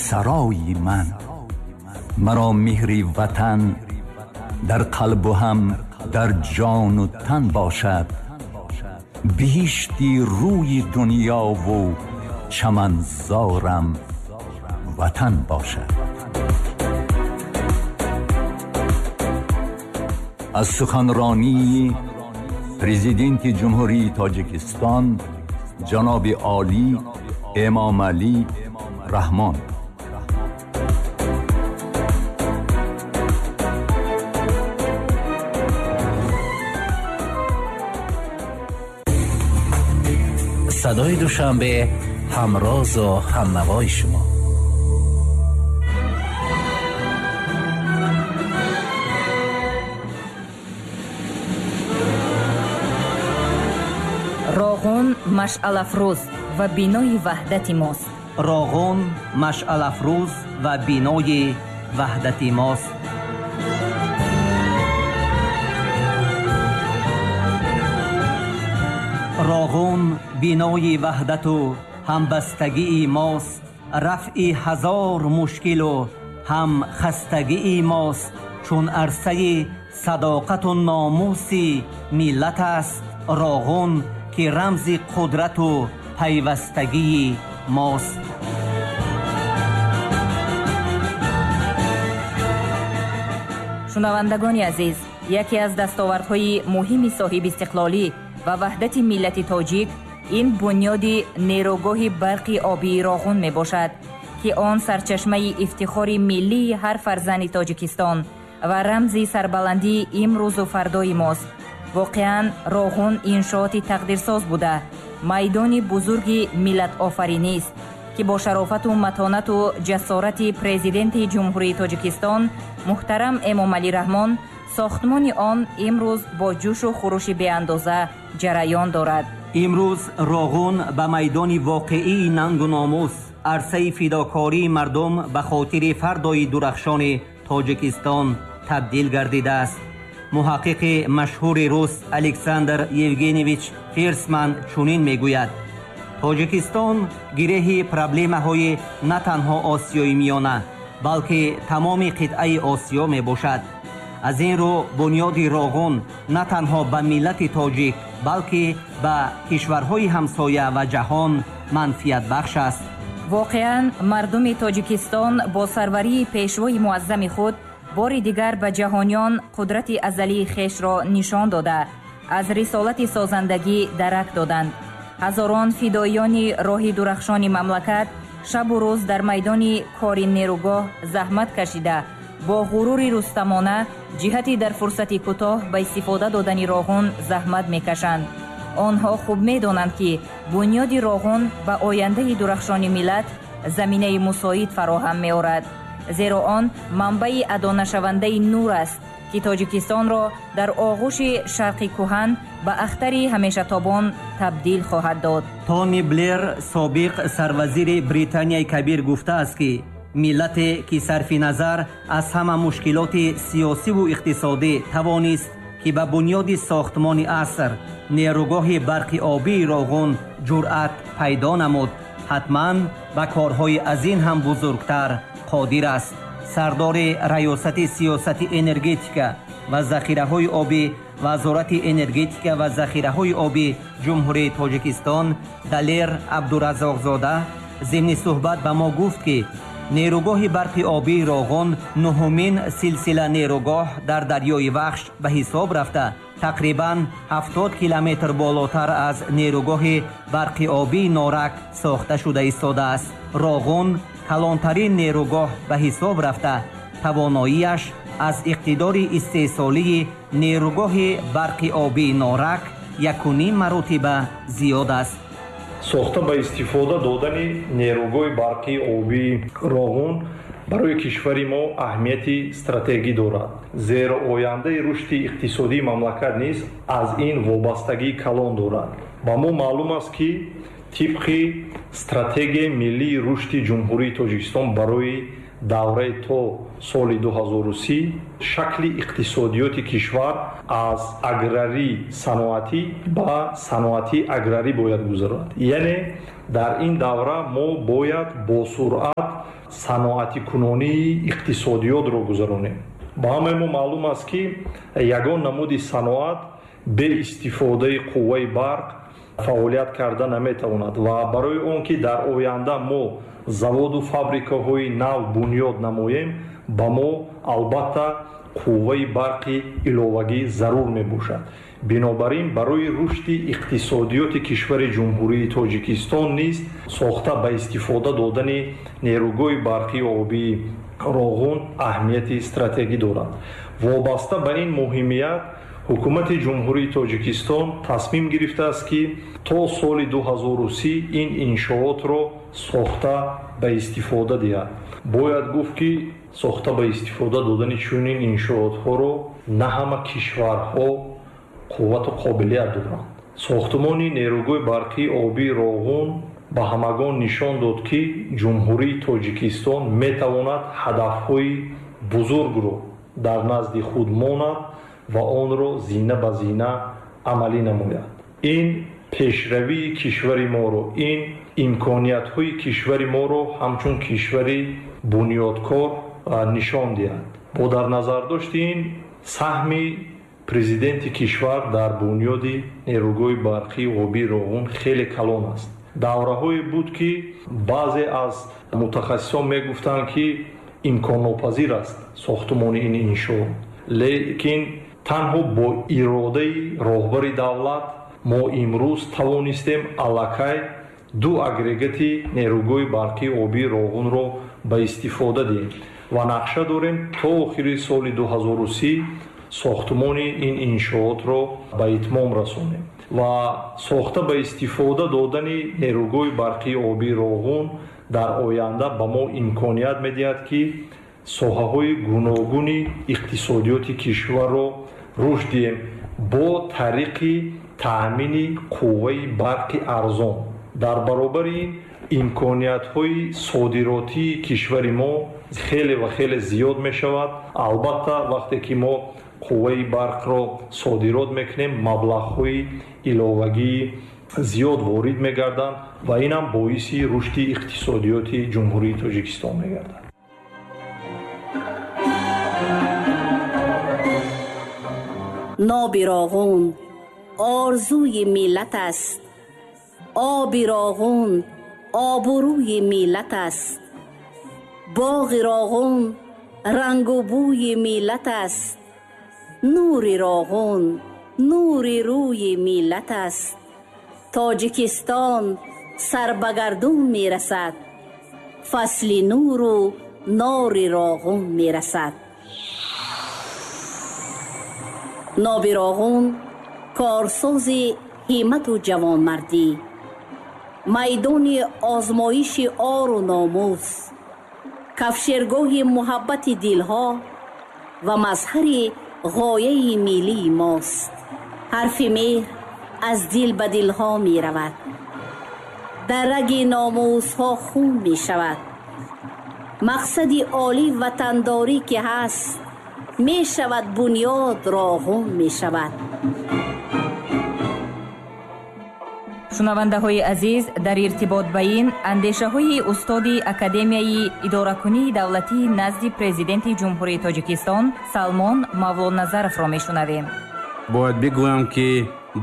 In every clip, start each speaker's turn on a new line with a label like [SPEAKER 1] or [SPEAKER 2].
[SPEAKER 1] сарои ман. Маро меҳри ватан дар қалбу ҳам дар ҷону тан бошад. Биҳишти рӯи дунёву чаманзорам ватан бошад. Аз суханронии Президенти Ҷумҳурии Тоҷикистон ҷаноби олӣ Эмомалӣ Раҳмон.
[SPEAKER 2] Садои Душанбе, ҳамрозу ҳамнавои шумо.
[SPEAKER 3] Роғун машъалафрӯз ва бинои ваҳдати мост.
[SPEAKER 4] Роғун машъалафрӯз ва бинои ваҳдати мост. Роғун бинои ваҳдату ҳамбастагии мост. Рафъи ҳазор мушкилу ҳам хастагии мост. Чун арсаи садоқату номуси миллат аст Роғун, ки рамзи қудрату пайвастагии мост.
[SPEAKER 3] Шунавандагони азиз, яке аз дастовардҳои муҳими соҳибистиқлолӣ ва ваҳдати миллати тоҷик ин бунёди нерӯгоҳи барқи обии Роғун мебошад, ки он сарчашмаи ифтихори миллии ҳар фарзанди Тоҷикистон ва рамзи сарбаландии имрӯзу фардои мост. Воқеан, Роғун иншооти тақдирсоз буда, майдони бузурги миллатофаринист, ки бо шарофату матонату ҷасорати Президенти Ҷумҳурии Тоҷикистон муҳтарам Эмомалӣ Раҳмон сохтмони он имрӯз бо ҷӯшу хурӯши беандоза ҷараён дорад.
[SPEAKER 4] Имрӯз Роғун ба майдони воқеии нангу номус, арсаи фидокории мардум ба хотири фардои дурахшони Тоҷикистон табдил гардидааст. Муҳаққиқи машҳури рус Александр Евгеньевич Фирсман чунин мегӯяд: Тоҷикистон гиреҳи проблемаҳои на танҳо Осиёи Миёна, балки тамоми қитъаи Осиё мебошад. Аз ин рӯ бунёди Роғун на танҳо ба миллати тоҷик, балки ба кишварҳои ҳамсоя ва ҷаҳон манфиатбахш аст.
[SPEAKER 3] Воқеан, мардуми Тоҷикистон бо сарварии пешвои муаззами худ бори дигар ба ҷаҳониён қудрати азалии хешро нишон дода, аз рисолати созандагӣ дарак доданд. Ҳазорон фидоиёни роҳи дурахшони мамлакат шабу рӯз дар майдони кори нерӯгоҳ заҳмат кашида, бо ғурури рустамона ҷиҳати дар фурсати кӯтоҳ ба истифода додани Роғун заҳмат мекашанд. Онҳо хуб медонанд, ки бунёди Роғун ба ояндаи дурахшони миллат заминаи мусоид фароҳам меорад, зеро он манбаи адонашавандаи нур аст, ки Тоҷикистонро дар оғӯши шарқи кӯҳан ба ахтари ҳамешатобон табдил хоҳад дод.
[SPEAKER 4] Тони Блер, собиқ сарвазири Британияи Кабир, гуфтааст, ки миллате ки сарфи назар аз ҳама мушкилоти сиёсиву иқтисодӣ тавонист, ки ба бунёди сохтмони аср нерӯгоҳи барқи обии Роғун ҷуръат пайдо намуд, ҳатман ба корҳои аз ин ҳам бузургтар қодир аст. Сардори раёсати сиёсати энергетика ва захираҳои обӣ Вазорати энергетика ва захираҳои обӣ Ҷумҳурии Тоҷикистон Далер Абдуразоқзода зимни суҳбат ба мо гуфт, ки нерӯгоҳи барқи обии Роғун нуҳумин силсила нерӯгоҳ дар дарёи Вахш ба ҳисоб рафта, тақрибан 70 километр болотар аз нерӯгоҳи барқи обии Норак сохта шуда истодааст. Роғун калонтарин нерӯгоҳ ба ҳисоб рафта, тавоноияш аз иқтидори истеҳсолии нерӯгоҳи барқи обии Норак 1.5 маротиба зиёд аст.
[SPEAKER 5] Сохта ба истифода додани нерӯгоҳи барқии обии Роғун барои кишвари мо аҳамияти стратегӣ дорад, зеро ояндаи рушди иқтисодии мамлакат низ аз ин вобастагии калон дорад. Ба мо маълум аст, ки тибқи стратегияи миллии рушди Ҷумҳурии Тоҷикистон барои давраи то соли 2030 шакли иқтисодиёти кишвар аз аграрӣ саноатӣ ба саноатӣ аграрӣ бояд гузарад. Яъне дар ин давра мо бояд бо суръат Саноатикунонии иқтисодиётро гузаронем. Ба ҳамаи мо маълум аст, ки ягон намуди саноат бе истифодаи қувваи барқ фаъолият карда наметавонад ва барои он ки дар оянда мо заводу фабрикаҳои нав бунёд намоем, ба мо албатта қувваи барқи иловагӣ зарур мебошад. Бинобар ин барои рушди иқтисодиёти кишвари Ҷумҳурии Тоҷикистон низ сохта ба истифода додани нерӯгоҳи барқии обии Роғун аҳамияти стратегӣ дорад. Вобаста ба ин муҳимият Ҳукумати Ҷумҳурии Тоҷикистон тасмим гирифтааст, ки то соли 2030 ин иншоотро сохта ба истифода диҳад. Бояд гуфт, ки сохта ба истифода додани чунин иншоотҳоро на ҳама кишварҳо қуввату қобилият доранд. Сохтмони нерӯгоҳи барқии обии Роғун ба ҳамагон нишон дод, ки Ҷумҳурии Тоҷикистон метавонад ҳадафҳои бузургро дар назди худ монад ва онро зина ба зина амалӣ намояд. Ин пешравии кишвари моро, ин имкониятҳои кишвари моро ҳамчун кишвари бунёдкор нишон диҳад. Бо дар назардошти ин саҳми президенти кишвар дар бунёди нерӯгоҳи барқии обии Роғун хеле калон аст. Давраҳое буд, ки баъзе аз мутахассисон мегуфтанд, ки имконнопазир аст сохтмони ин иншоот, лекин танҳо бо иродаи роҳбари давлат мо имрӯз тавонистем аллакай ду агрегати нерӯгоҳи барқии обии Роғунро ба истифода диҳем ва нақша дорем то охири соли 2030 сохтмони ин иншоотро ба итмом расонем. Ва сохта ба истифода додани нерӯгоҳи барқии обии Роғун дар оянда ба мо имконият медиҳад, ки соҳаҳои гуногуни иқтисодиёти кишварро рушд диҳем бо тариқи таъмини қувваи барқи арзон. Дар баробари ин имкониятҳои содиротии кишвари мо хеле ва хеле зиёд мешавад. Албатта, вақте ки мо қувваи барқро содирот мекунем, маблағҳои иловагии зиёд ворид мегарданд ва инам боиси рушди иқтисодиёти Ҷумҳурии Тоҷикистон мегардад.
[SPEAKER 6] Ноби Роғун орзуи миллат аст, оби Роғун обрӯи миллат аст, боғи Роғун рангу бӯи миллат аст, нури Роғун нури рӯи миллат аст. Тоҷикистон сар ба гардун мерасад, фасли нуру нори Роғун мерасад. Ноби Роғун корсози ҳиммату ҷавонмардӣ, майдони озмоиши ору номус, кафшергоҳи муҳаббати дилҳо ва мазҳари ғояи миллии мост. Ҳарфи меҳр аз дил ба дилҳо меравад, дар раги номусҳо хун мешавад. Мақсади олӣ ватандорӣ ки ҳаст, мешавад бунёд, Роғун мешавад.
[SPEAKER 3] Шунавандаҳои азиз, дар иртибот ба ин андешаҳои устоди Академияи идоракунии давлатии назди Президенти Ҷумҳурии Тоҷикистон Салмон Мавлоназаровро мешунавем.
[SPEAKER 7] Бояд бигӯям, ки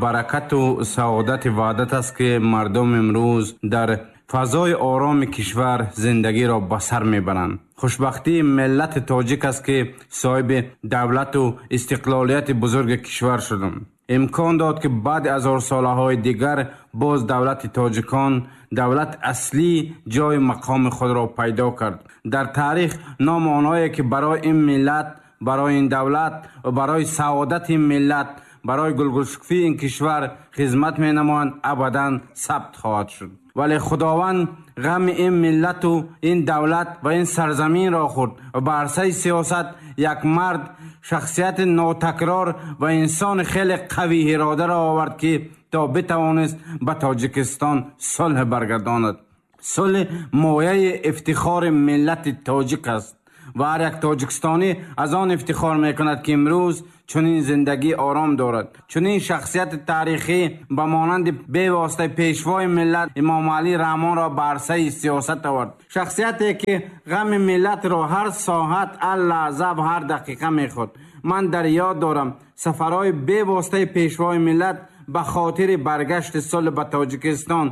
[SPEAKER 7] баракату саодати ваҳдат аст, ки мардум имрӯз дар фазои ороми кишвар зиндагиро ба сар мебаранд. Хушбахтии миллати тоҷик аст, ки соҳиби давлату истиқлолияти бузурги кишвар шудам. Имкон дод, ки баъди ҳазорсолаҳои дигар боз давлати тоҷикон, давлати аслӣ, ҷои мақоми худро пайдо кард. Дар таърих номи онҳое, ки барои ин миллат, барои ин давлат ва барои саодати ин миллат, барои гулгулшукуфии ин кишвар хизмат менамоянд, абадан сабт хоҳад шуд. Вале Худованд ғами ин миллату ин давлат ва ин сарзаминро хӯрд ва ба арсаи сиёсат як мард, шахсияти нотакрор ва инсони хеле қавии иродаро овард, ки то битавонист ба Тоҷикистон сулҳ баргардонад. Сулҳ мояи ифтихори миллати тоҷик аст ва ҳар як тоҷикистонӣ аз он ифтихор мекунад, ки имрӯз чунин зиндагии ором дорад. Чунин шахсияти таърихӣ ба монанди бевоситаи Пешвои миллат Эмомалӣ Раҳмонро ба арсаи сиёсат овард. Шахсияте, ки ғами миллатро ҳар соат, ҳар лаҳза ва ҳар дақиқа мехӯрд. Ман дар ёд дорам сафарҳои бевоситаи Пешвои миллат ба хотири баргашти сулҳ ба Тоҷикистон.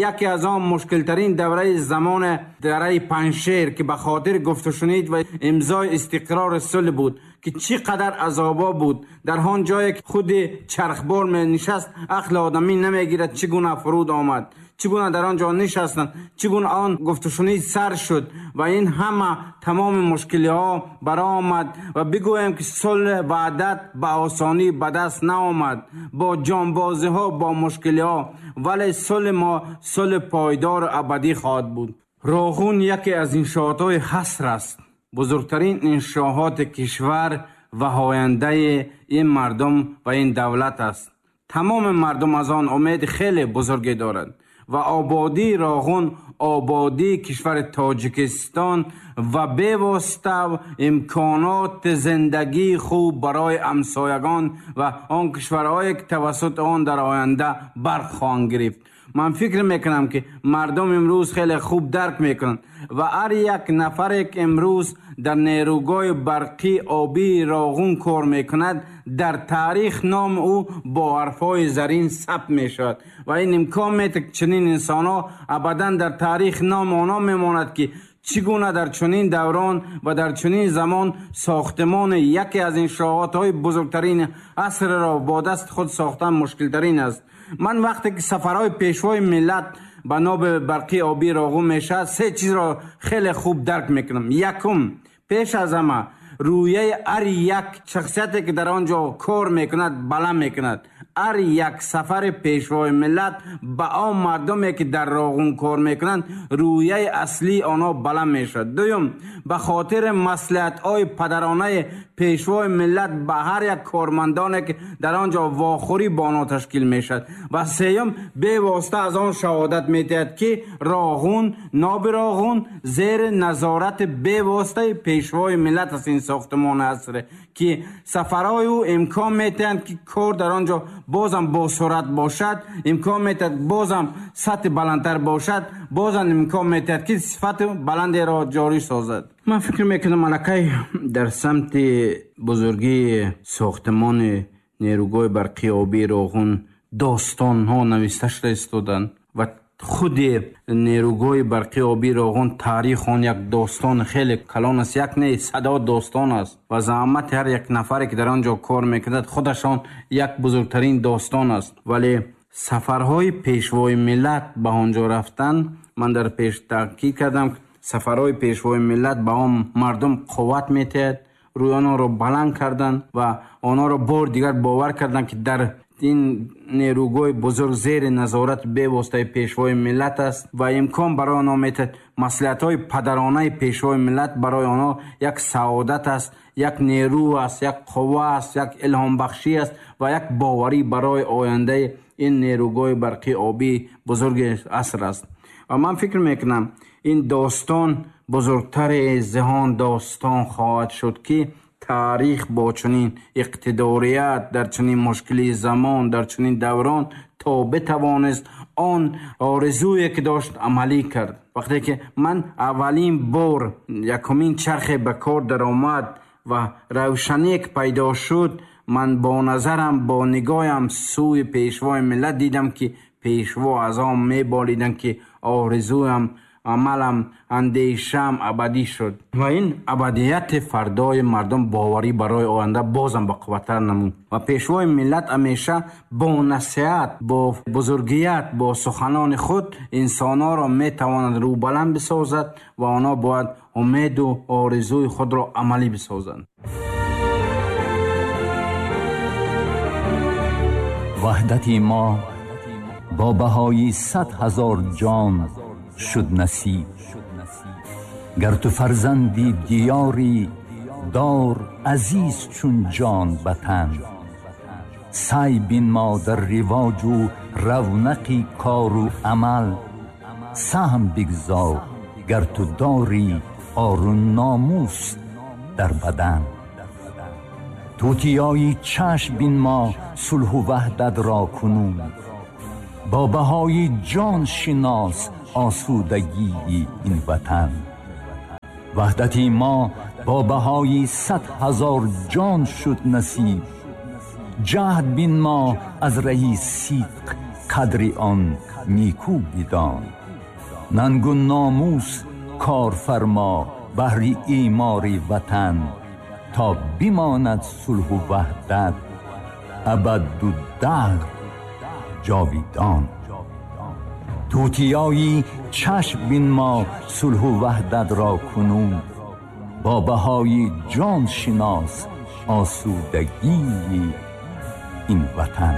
[SPEAKER 7] Яке аз он мушкилтарин давраи замон дараи Панҷшер, ки ба хотири гуфтушунид ва имзои истиқрори сулҳ буд, ки чӣ қадар азобо буд. Дар он ҷое ки худи чархбор менишаст, ақли одамӣ намегирад чӣ гуна фуруд омад, чӣ гуна дар он ҷо нишастанд, чӣ гуна он гуфтушунид сар шуд ва ин ҳама тамоми мушкилиҳо баромад. Ва бигӯем, ки сулҳ ваҳдат ба осонӣ ба даст наомад, бо ҷонбозиҳо, бо мушкилиҳо, вале сулҳи мо сулҳи пойдору абадӣ хоҳад буд. Роғун яке аз иншоотҳои ҳаср аст, бузургтарин иншооти кишвар ва ояндаи ин мардум ва ин давлат аст. Тамоми мардум аз он умеди хеле бузурге доранд ва ободии Роғун ободии кишвари Тоҷикистон ва бевосита имконоти зиндагии хуб барои ҳамсоягон ва он кишварҳое, ки тавассути он дар оянда барқ хоҳанд гирифт. Ман фикр мекунам, ки мардум имрӯз хеле хуб дарк мекунанд ва ҳар як нафаре, ки имрӯз дар нерӯгоҳи барқии обии Роғун кор мекунад, дар таърих номи ӯ бо ҳарфҳои зарин сабт мешавад ва ин имкон медиҳад, ки чунин инсонҳо абадан дар таърих номи онҳо мемонад, ки чӣ гуна дар чунин даврон ва дар чунин замон сохтмони яке аз иншоотҳои бузургтарин асрро бо дасти худ сохтан мушкилтарин аст. Ман вақте ки сафарҳои Пешвои миллат ба ноби барқии обии Роғун мешавад, се чизро хеле хуб дарк мекунам. Якум, пеш аз ҳама рӯяи ҳар як шахсияте, ки дар он ҷо кор мекунад, баланд мекунад. Ҳар як сафари Пешвои миллат ба он мардуме, ки дар Роғун кор мекунанд, рӯяи аслии онҳо баланд мешавад. Дуюм, ба хотири маслиҳатҳои падаронаи Пешвои миллат ба ҳар як кормандоне, ки дар он ҷо вохӯрӣ бо онҳо ташкил мешавад. Ва сеюм, бевосита аз он шаҳодат медиҳад, ки Роғун, ноби Роғун зери назорати бевоситаи Пешвои миллат аст. Ин сохтмони асре, ки сафарҳои ӯ имкон медиҳанд, ки кор дар он ҷо бозам босуръат бошад, имкон медиҳад бозам сатҳи баландтар бошад, бозам имкон медиҳад, ки сифати баландеро ҷорӣ созад. Ман фикр мекунам, аллакай дар самти бузургии сохтмони нерӯгоҳи барқии обии Роғун достонҳо нависта шуда истоданд ва худи нерӯгоҳи барқии обии Роғун таърих он як достон хеле калон аст, як не, садо достон аст ва заҳмати ҳар як нафаре, ки дар он ҷо кор мекунад, худашон як бузургтарин достон аст. Вале сафарҳои Пешвои миллат ба он ҷо рафтан, ман дар пеш таъкид кардам, сафарҳои Пешвои миллат ба он мардум қувват медиҳад, рӯи онҳоро баланд карданд ва онҳоро бор дигар бовар карданд, ки дар ин нерӯгоҳи бузург зери назорати бевоситаи Пешвои миллат аст ва имкон барои онҳо медиҳад. Маслиҳатҳои падаронаи Пешвои миллат барои онҳо як саодат аст, як нерӯ аст, як қувва аст, як илҳомбахшӣ аст ва як боварӣ барои ояндаи ин нерӯгоҳи барқии обии бузурги аср аст. Ва ман фикр мекунам, ин достон бузургтари зиҳон достон хоҳад шуд, ки таърих бо чунин иқтидорият дар чунин мушкили замон, дар чунин даврон то битавонист он орзуе, ки дошт, амалӣ кард. Вақте ки ман аввалин бор якумин чархе ба кор даромад ва равшане ки пайдо шуд, ман бо назарам, бо нигоҳам сӯи Пешвои миллат дидам, ки Пешво аз он меболиданд, ки орзуям, амалам, андешаам абадӣ шуд ва ин абадияти фардои мардум боварӣ барои оянда бозам бақувваттар намуд. Ва Пешвои миллат ҳамеша бо насиҳат, бо бузургият, бо суханони худ инсонҳоро метавонад рӯбаланд бисозад ва онҳо бояд умеду орзуи худро амалӣ бисозанд.
[SPEAKER 1] Ваҳдати мо бо баҳои 100 000 ҷон шуд насиб. Гар ту фарзанди диёрӣ, дор азиз чун ҷон ба тан. Сай бинмо дар ривоҷу равнақи кору амал, саҳм бигзор, гар ту дорӣ ору номус. дар бадан. Тутиёи чашм бинмо сулҳу ваҳдатро кунун, бо баҳои ҷон шинос осудагии ин ватан. Ваҳдати мо бо баҳои 100 000 ҷон шуд насиб. Ҷаҳд бинмо аз раҳи сидқ қадри он нику бидон. Нангу номус кор фармо баҳри имори ватан, то бимонад сулҳу ваҳдат абаду даҳр ҷовидон. Тутиёи чашм бинмо сулҳу ваҳдатро кунун, бо баҳои ҷон шинос осудагии ин ватан.